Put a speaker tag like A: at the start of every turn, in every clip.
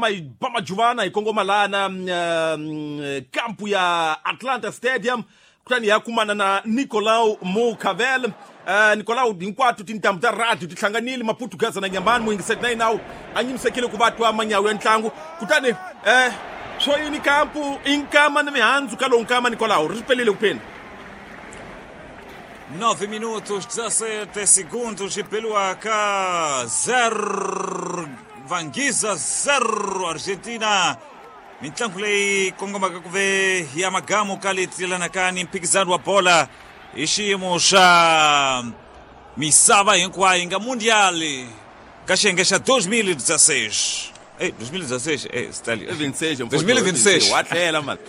A: Hi ba majuvana hi kongoma lana kampu ya Atlanta Stadium, kutani hi ya kumana na Nicolau Mucavel. Nicolau, hinkwato tintambu ta radio ti hlanganile, Maputugaza na Nyambani, muyingiseti na yinawu a nyimisekile ku va twa manyawu ya ntlangu. Kutani swo yini kampu i nkama ni mihandzu ka lowu nkama, Nicolau, ri pelile kupheni?
B: 9 minutos 17 segundos Peluaca 0 Vangisa 0 Argentina. Mintlangu leyi kongomaka ku ve ya magamu ka leti yelanaka ni mphikizano wa bola hi xiyimo xa misava hinkwayo nga mundial ka xiyenge xa 2016. Ei, 2016, Stalin.
A: 26.
B: 2026.
A: Wa tlhela mani.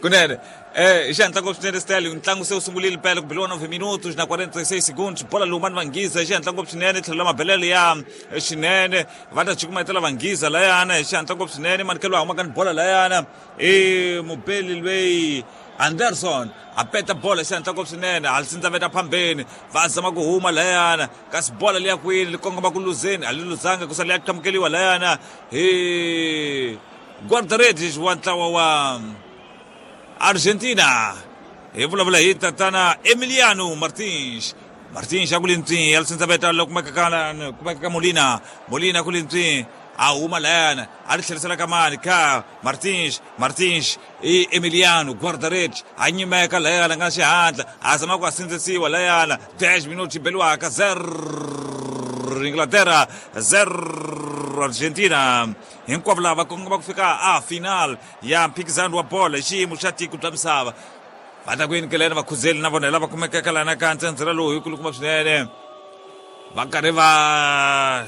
B: Kunene hi xihatla ngopfu swinene, Stalin. Ntlangu se wu sungurile mpela ku biliwa 9 minutos na 46 segundos. Bola lumani Vangisa hi xihatla ngopfu swinene, tlhelo la mabelelo ya xinene va ta cukumetela Vangisa layana hi xihatla ngopfu swinene. Manikelo a humaka ni bola layana i mubeli lweyi Anderson, a peta bola hi xihatla ngopfu swinene, a li phambeni, va zama ku huma layana, kasi bola liya kwini li kongoma ku luzeni, a li luzanga ku sala ya qhamukeliwa layana hi guarda-redes wa ntlawa wa Argentina. Hi vulavula hi tatana Emiliano Martins. Martins a ku lintswi ya lisindzaveta lo kumeka ka Molina. Molina ku lintswi a huma layana, a ri tlherisela ka mani ka Martins. Martins i Emiliano guarda-redes a nyimeka layana nga xihatla, a zama ku a sindzisiwa layana. 10 minutos beliwaka 0 Inglaterra 0 Argentina. Hinkwavo lava kongoma ku fika a final ya mphikizano wa bola hi xiyimo xa tiko bya misava. Va ta ku yinikelena vakhuzeli na vona lava kumekaka lana ka ntsendzela lowu hi kulukumba swinene, va karhi va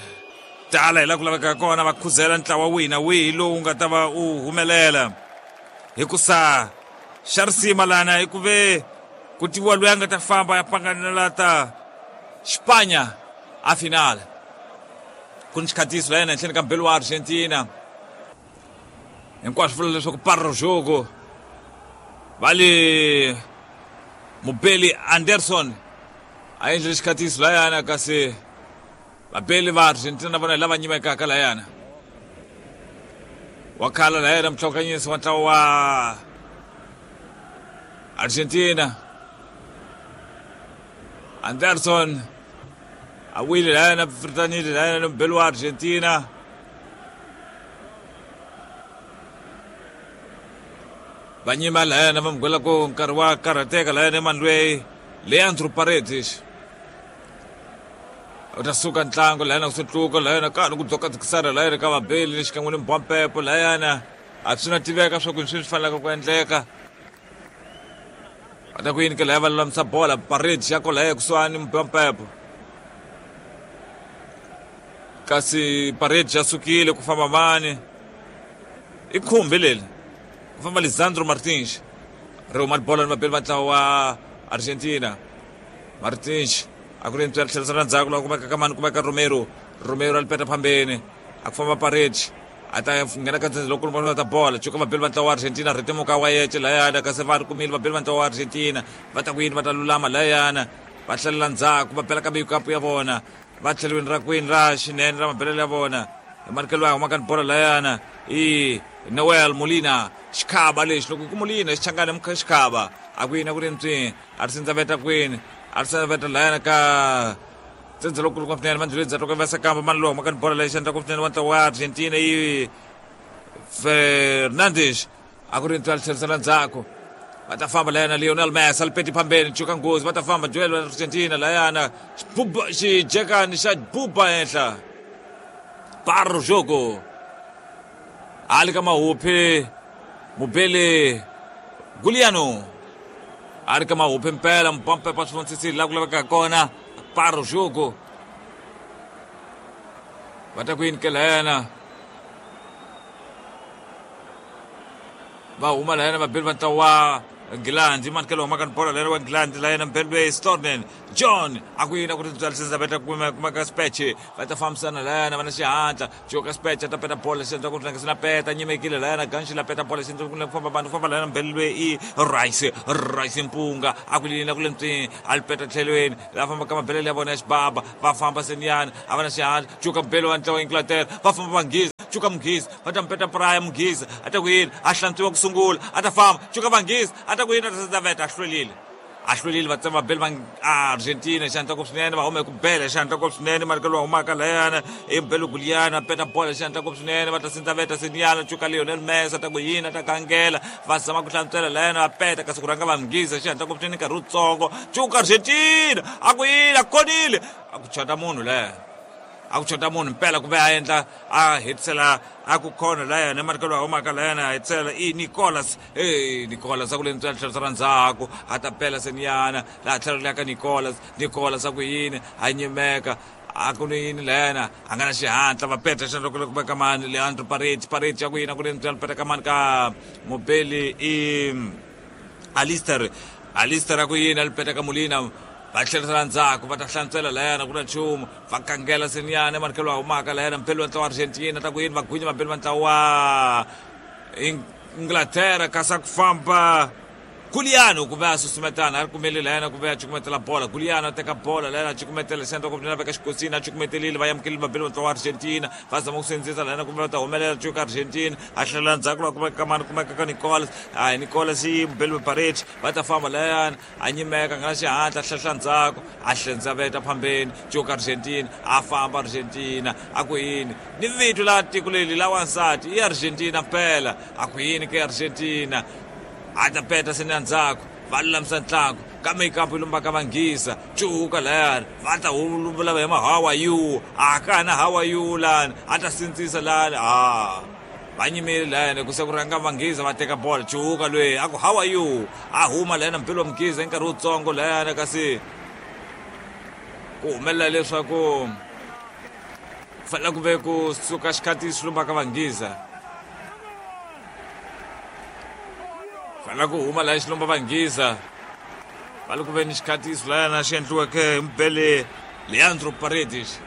B: tala hi laha ku lavekaka kona, va khuzela ntlawa wihi na wihi lowu nga ta va u humelela, hikusa xa risima lana hi ku ve ku tiviwa loyi a nga ta famba ya panganela ta Xipanya a final. Ku ni xikhatiso la yena henhleni ka mbelo wa Argentina. Hinkwaswo vula leswaku parro jogo va le mubeli Anderson a endlile xikhatiso layana, kasi vabeli va Argentina na vona hi lava nyimekaka layana. Wa khala layana mutlhokanyisi wa ntlawa wa Argentina Anderson a wile layana, fritanile layana ni mubeli wa Argentina. Va nyima layana, va mugwela ku nkarhi wa karhateka layana emani lweyi Leandro Paredes u ta suka ntlangu layana ku sutluka layana ka ni ku dzokadzikisana layana ka vabeli ni xikan'we ni mbwampepo layana. A swi na tiveka swa ku swi swi fanelaka ku endleka. Va ta ku yini ke laya, va lulamisa bola. Paredes ya ko laya kusuhani mbwampepo, kasi Paredes ya sukile, ku famba mani? I khumbi leri, ku famba Lisandro Martins. Ri huma bola ni vabeli va ntlawa wa Argentina. Martins a ku ri ntswela tlherisela ndzhaku laha kumeka ka mani? Kumeka Romero. Romero a li peta phambeni, a ku famba Paredes, a ta nghena ka ndzhendzhe loko va ta bola cuka vabeli va ntlawa wa Argentina. Rhitimuka wa yece layana, kasi va ri kumile vabeli va ntlawa wa Argentina. Va ta ku yini? Va ta lulama layana, va tlhelela ndzhaku, va bela ka mikapu ya vona, va tlhelweni ra kwini ra xinene ra mabelelo ya vona. Hi manikelo ya humaka ni bola layana i Noel Molina, xikhava lexi loko ku Molina xichangani mukha xikhava. A ku yini a ku ri ntswi a ri sindzaveta kwini, a ri sindzaveta layana ka ntsendze lokulu ngopfu swinene mandluleni dza toka va mani lowu humaka ni bola lexi endla ngopfu swinene wa ntlawa wa Argentina i Fernandes. A ku ri ntswi a ri tlherisela ndzhaku, va ta famba layana. Lionel Messi a li peti phambeni, cuka nghozi, va ta famba duel wa Argentina layana, xijekani xa buba henhla, paro jogo ali ka mahuphi mubeli Guliano, a ri ka mahuphi mpela mpampepa swi vonisisile laha ku lavekaka kona. Paro jogo, va ta ku yini ke layana? Va huma layana vabeli va ntlawa wa Nghilandhi. Manikelo humaka ni bola layana wa Nghilandhi layana mbeli loyi Stornen John. A ku yini a ku ri byalisisa va ta kumeka speche, va ta fambisana layana, va na xihatla joka speche, a ta peta bola xi endla ku tlangisa na peta nyimekile layana ganxi la peta bola xi endla ku famba vanhu famba layana mbeli loyi i Rice. Rice mpunga a ku yini a ku le ntswini, a li peta tlhelweni la famba ka mabelele ya vona ya xibaba, va famba seniyana, a va na xihatla, cuka mbeli wa ntlawa Inglaterra, va famba Vanghiza. Cuka Mughiza va ta mupeta Praya Mughiza a ta ku yini a hlantswiwa ku sungula a ta famba cuka Vanghiza a ta ku yini a ta sazaveta a hlwelile a hlwelile va tsema beli va Argentina xandla ku swinene va hume ku bela xandla ku swinene mali lowa humaka layana i belo Guliana peta bola xandla ku swinene va ta sindzaveta Seniana cuka Lionel Messi ta ku yini ta kangela va zama ku hlantswela layana va peta kasi ku rhanga va Mughiza xandla ku swinene nkarhi wutsongo cuka Argentina a ku yini a konile a ku chota munhu laya a ku chota munhu mpela ku ve a endla a hetisela a ku khona layana emarika lowu humaka layana a hetisela i Nicolas e Nicolas a ku le ntswela tlhelo ra ndzhaku a ta pela Seniana laha tlhelo liya ka Nicolas Nicolas a ku yini a nyimeka a ku ni yini layana a nga na xihatla va peta xana loko loko ka mani Leandro Paredes Paredes ya ku yini a ku le ntswela peta ka mani ka mubeli i Alistair Alistair a ku yini a li peta ka Molina va tlherisela ndzhaku va ta hlantswela layana ku na nchumu va kangela Seniana emarikelo wa humaka layana mpeli wa ntlawa wa Argentina ta ku yini va gwinya vambeli va ntlawa wa Inglaterra kasi a ku famba Guliano ku ve a susumetana a ri kumele layana ku ve a cukumetela bola Guliano a teka bola layana a cukumetela xandla ku na veka xikosini a cukumetelile va amukelile vambeli va ntlawa wa Argentina va zama ku sindzisa layana kumbe va ta humelela cuka Argentina a hlelela ndzhaku laha kumeka ka mani kumeka ka Nicolas hayi Nicolas yi mubeli Paredes va ta famba layana a nyimeka nga na xihatla a hlehla ndzhaku a hlendzaveta phambeni cuka Argentina a famba Argentina a ku yini ni vito la tiko leli la wansati i Argentina mpela a ku yini ke Argentina a ta peta se na ndzhaku va lulamisa ntlangu kambe ikampu yi lombaka Vanghisa cuka layani va ta vulavula hi ma how are you a ka ha na how are you lani a ta sindzisa lani a va nyimile layani ku se ku rhanga Vanghisa va teka bola cuka lweyi a ku how are you a huma layani mpilo wa Mughiza hi nkarhi wutsongo layani kasi ku humelela leswaku fanele ku ve ku suka xikhati xi lombaka Vanghisa fanele ku huma laha xilomba Vanghiza va le ku veni xikhatiso layana xi endliweke hi mubele Leandro Paredes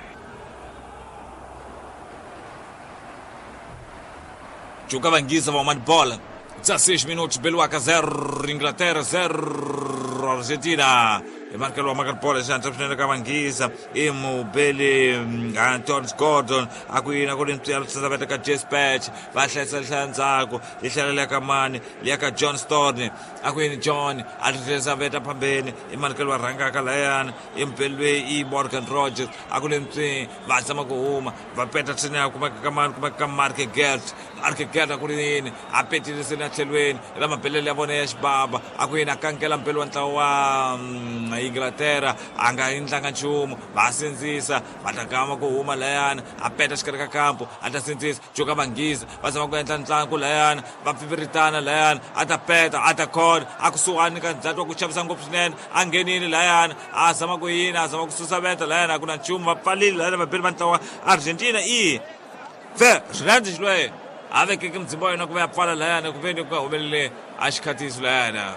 B: Cuka Vanghiza va huma ni bola 16 minutos beliwaka 0 Inglaterra 0 Argentina hi markelo wa maka bola xandla swinene ka Vanghiza i mubeli Anton Gordon a ku yini a ku ri ntswiyalo sasaveta ka Jespatch va hlayisa hlaya ndzhaku yi tlhela liya ka mani liya ka John Stone a ku yini John a tlherisa veta phambeni i manikelo wa rhangaka layani i mubeli loyi i Morgan Rogers a ku le ntswini va zama ku huma va peta tsini ya kumeka ka mani kumeka ka Mark Gert Mark Gert a ku ri yini a petile seni a tlhelweni la mabelele ya vona ya xibaba a ku yini a kankela mbeli wa ntlawa wa Inglaterra a nga endlanga nchumu va sindzisa va ta gama ku huma layani a peta xikarhi ka kampo a ta sindzisa Joka Vanghiza va zama ku endla ntlangu layani va pfipfiritana layani a ta peta a ta khona a kusuhani ka ndzati wa ku chavisa ngopfu swinene a nghenile layani a zama ku yini a zama ku susa veta layani a ku na nchumu va pfalile layani vabeli va ntlawa Argentina i Fernandes loyi a vekeke mudzimba wa yena ku va ya pfala layani ku veni ku nga humeleli a xikhatiso layana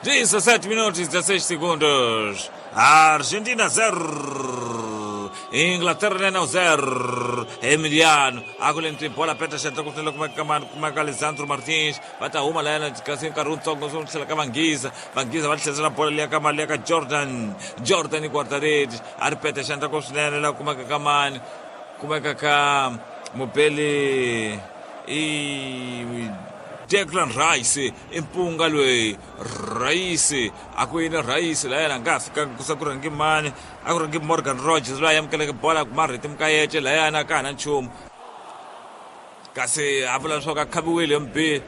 B: 17 minutos 16 segundos. Argentina 0. Inglaterra nena 0. Emiliano akuleni bola peta xandla ku tlhela kumeka mani kumeka Lisandro Martins va ta huma layana kasi nkarhi wutsongo swo tlhela ka Vanghiza Vanghiza va tlherisela bola liya ka mali ya ka Jordan Jordan guardaredi a ri peta xandla ku swinene laha kumeka ka mani kumeka ka mubeli i Declan Rice i mpunga loyi Rice a ku yini Rice la yena a nga ha fikanga ku se ku rhangi mani a ku rhangi Morgan Rogers loyi a amukeleke bola ku marheti mukayece layana a ka ha na nchumu kasi a vula leswaku a khaviwile mbi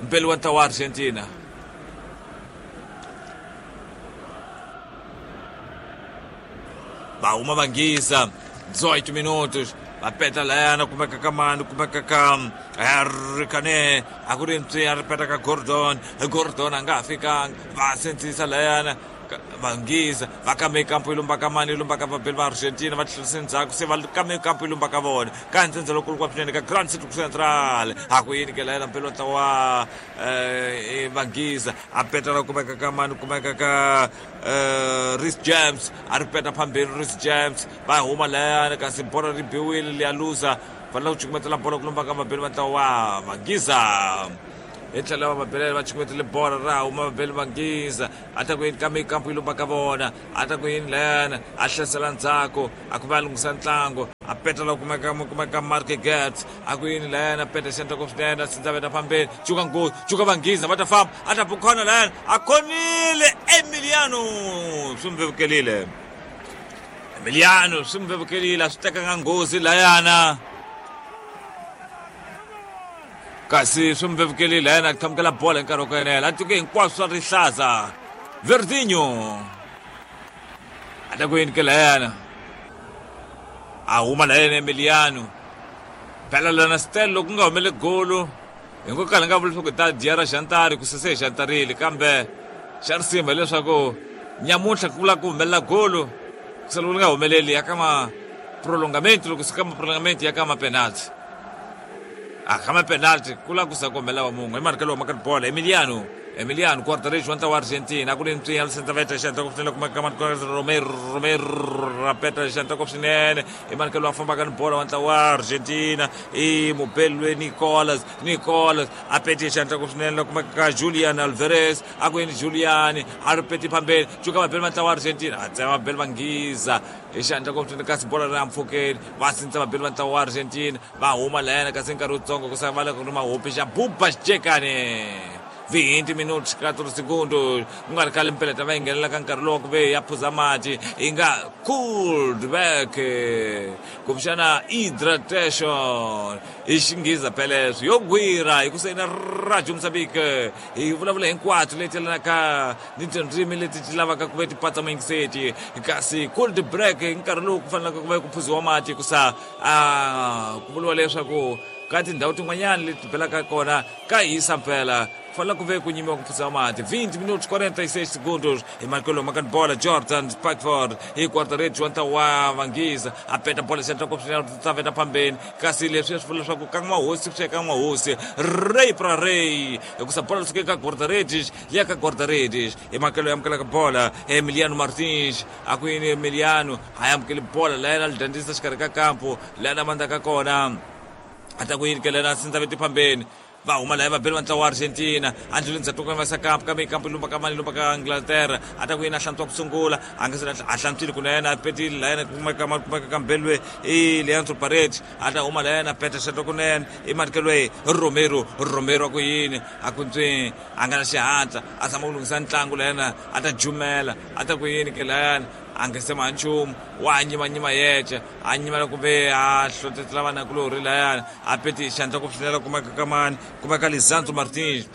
B: mpeli wa ntlawa wa Argentina va huma Vanghiza 18 minutos va peta layana kumeka ka mani kumeka ka Harry Kane a ku ri ntswi a ri peta ka Gordon Gordon a nga ha fikanga va sindzisa layana Vanghiza va kame kampo yi lumba ka mani yi lumba ka vabeli va Argentina va tlherise ndzhaku se va kame kampo yi lumba ka vona ka ntsendze lokulu kwa swinene ka Grand City Central a ku yini ke layana mpelo ntlawa Vanghiza a peta la kumeka ka mani kumeka ka Reece James a ri peta phambeni Reece James va huma layani kasi bola ri biwile liya luza fanele ku cukumetela bola ku lumba ka vabeli va ntlawa wa Vanghiza hi tlhelo va vabelele va cukumetele bola ra huma vabeli Vanghiza a ta ku yini kambe kampo yi lumba ka vona a ta ku yini layani a hlasela ndzhaku a ku va a lunghisa ntlangu. A peta la kumeka kumeka Mark Gert a ku yini layana peta xandla ko swinene a sindzaveta phambeni cuka nghozi cuka vanghiza va ta famba a ta bukhona layana a khonile Emiliano swi n'wi vevukelile Emiliano swi n'wi vevukelile a swi tekanga nghozi layana kasi swi n'wi vevukelile layana a qhamukela bola hi nkarhi wa ku enela a tike hinkwaswo swa rihlaza Verdinho a ta ku yini ke layana a huma la yena Emiliano phela lana Stel loko ku nga humele golo hi ngo kala nga vula leswaku ta dya ra xantari ku sese hi xantarile kambe xa risima hileswaku nyamuntlha ku vula ku humelela golo ku sala ku nga humeleli ya ka ma prolongamento loko swi ka ma prolongamento ya ka ma penalty a ka ma penalty ku la ku sa ku humelela wa mun'we i marikelo wa makati bola Emiliano Emiliano Guardarich wa ntlawa wa Argentina a ku ri ntswinya Sentaveta xandla ku swinene kuma ka Romero Romero rapeta xandla ku swinene i manikelo a fambaka ni bola wa ntlawa wa Argentina i mubelwe Nicolas Nicolas a pete xandla ku swinene kuma ka Julian Alvarez a ku yini Julian a ri peti phambeni cuka vabeli va ntlawa wa Argentina a tsema vabeli va nghiza hi xandla ku swinene kasi bola ri ampfhukeni va sindza vabeli va ntlawa wa Argentina va huma layana kasi nkarhi wutsongo ku sala va le ku ri mahopi xa Buba Xicekane 20 minutos 4 segundos ku nga ri khale mpeleta va yi nghenela ka nkarhi lowu ku ve ya phuza mati yi nga cooled back kumbexana hydratation hi xinghiza pheleswo yo gwira hi ku sayina radio Mozambique hi vulavula hinkwato leti yelanaka ni tindzimi leti ti lavaka ku ve ti patsa muyingiseti kasi cold break hi nkarhi lowu ku fanelaka ku ve ku phuziwa mati hikusa a ku vuriwa leswaku ka tindhawu tin'wanyana leti belaka kona ka hisa mpela ku fanele ku ve ku nyimiwa ku phuziwa mati 20 minutos 46 segundos hi markelo makani bola Jordan Pickford hi guarda-redes wa ntlawa wa vanghiza a peta bola xandla ku swinene taveta phambeni kasi leswi swi vula leswaku ka n'wahosi swi ka n'wahosi rey pra rey hikusa bola lisuke ka guarda-redes liya ka guarda-redes hi makelo ya amukelaka bola Emiliano Martins a ku yini Emiliano a ya amukeli bola la yena a li dyondzisa xikarhi ka kampo la yena mandzaka kona a ta ku yini ke lena sindza veti phambeni va huma laya vabeli va ntlawa wa Argentina a ndluleni ndzhaku ka va kampo kambe kampo lumba ka mani lumba ka Inglaterra a ta ku yini a hlantswa ku sungula a nga se a hlantswile kunene a petile la yena kumeka kumeka ka mbelwe i Leandro Paredes a ta huma la yena peta xato kunene i manikelo Romero Romero a ku yini a ku ntswi a nga na xihatla a zama ku lunghisa ntlangu la yena a ta jumela a ta ku yini ke layana a nga se ma nchumu wa nyimanyima yexe a nyimela kumbe a hlohletela vanakulorhi layana a peti xandla ku swinela kumeka ka mani kumeka Lisandro Martins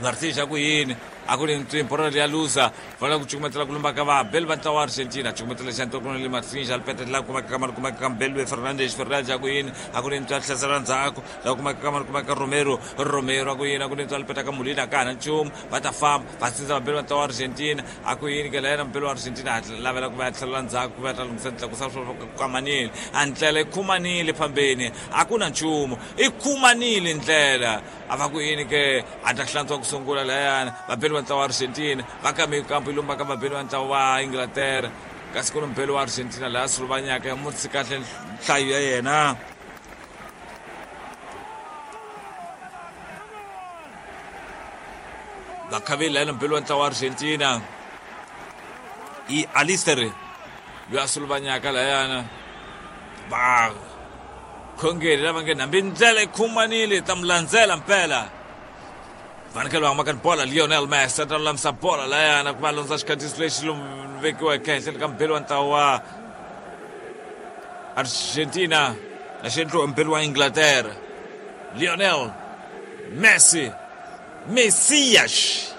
B: Martins a ku yini a ku ri ntswimbo ra ya luza fanele ku cukumetela ku lumba ka vabeli va ntlawa wa Argentina cukumetela xandla ku le Martins a peta la kumeka ka mani kumeka ka Mbelwe Fernandes Fernandes a ku yini a ku ri ntswa hlasela ndzhaku la kumeka ka mani kumeka Romero Romero a ku yini a ku ri ntswa peta ka Molina ka ha na nchumu va ta famba va sindza vabeli va ntlawa wa Argentina a ku yini ke la yena mubeli wa Argentina a lavela ku va ya tlhelela ndzhaku ku va ya ta lunghisa tlakusa swo kamanile a ndlela yi khumanile phambeni a ku na nchumu i khumanile ndlela a va ku yini ke a ta hlantswa ku sungula layana vabeli va ntlawa wa Argentina va kame kampo yi lumba ka vabeli va ntlawa wa Inglaterra kasi ku ni mubeli wa Argentina laha suluvanyaka ya mutsi kahle nhlayo ya yena vakhaveli layena mubeli wa ntlawa wa Argentina i Alister loyi a suluvanyaka layana va khongeri lava nge hambi ndlela yi khumanile ta mi landzela mpela fanekele va maka bola Lionel Messi a ta lulamisa bola layana ku va londza xikhatisi lexi vekiweke ehenhleni ka mubeli wa ntlawa wa Argentina na xi endliwa mubeli wa Inglaterra Lionel Messi Messias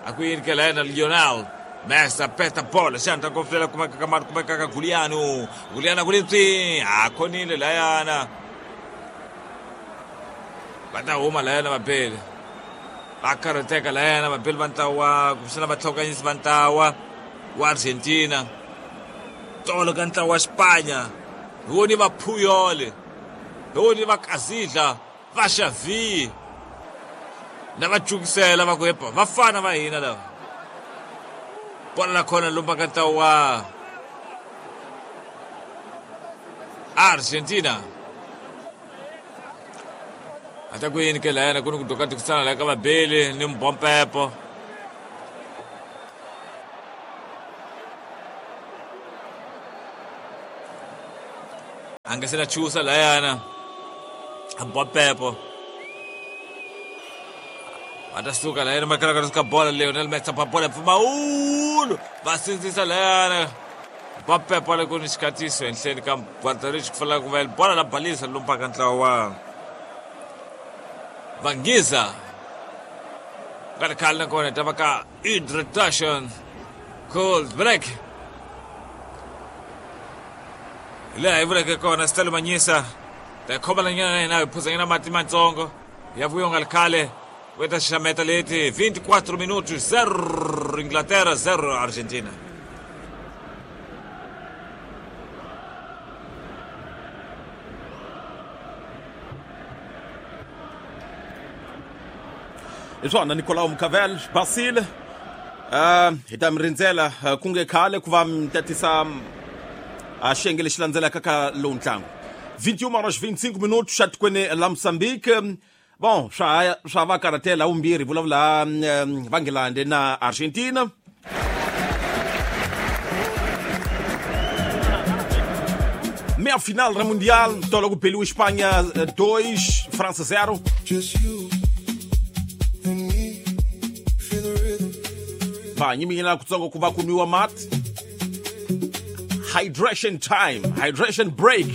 B: a ku yini ke la yena Lionel Messi a peta bola xandla ku flela kumeka ka mari kumeka ka Giuliano Giuliano ku ri ntswi a khonile layana va ta huma layana vabeli va karhateka layana vabeli va ntlawa kumbexana vatlhokanyisi va ntlawa wa Argentina tolo ka ntlawa wa Xipanya hi woni va Puyol hi woni va Kazidla va Xavi na va cukisela va ku epa vafana va hina lava bola la khona lumba ka ntlawa wa Argentina a ta ku yini ke layana ku ni ku dokatikisana la ka vabeli ni mbompepo A nga se na chusa layana. Bopepo. Va ta suka layana makala ka bola Lionel Messi pa bola pfumawulo va sindzisa layana. Bopepo le ku ni xikatiso ehenhleni ka Guardarich ku fanele ku va bola la balisa lompaka ntlawa wa Vangiza. Nga ri khale nakona ta va ka introduction cold break. Laha hi vuleke kona Stelo Manyisa ta khomela nyana na hina hi phuzanyana mati matsongo ya vuyo nga ri khale ku ta xaxameta leti 24 minutos 0 Inglaterra 0 Argentina.
A: Hi swona Nicolau Mucavel Basile, hi ta mi rindzela ku nge khale ku va mi tatisa a xiyenge lexi landzelaka ka lowu ntlangu. 21 horas 25 minutos xa tikweni la Mozambique. Bon, swa swa va karhatela vumbirhi vulavula va Nghilandhi na Argentina. Meia final ra Mundial, tolo ku beliwe Espanha 2, França 0.
C: Just you and me, feel the rhythm.
A: Va nyiminyela kutsongo ku va ku nwiwa mati. Hydration time, hydration break.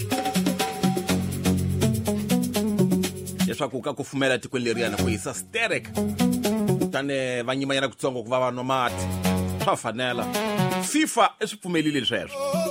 A: Leswaku ka kufumela tikweni leriyana ku hisa sterek. Kutani va nyimanyana kutsongo ku va va nwa mati. Swa fanela. FIFA i swi pfumelile sweswo.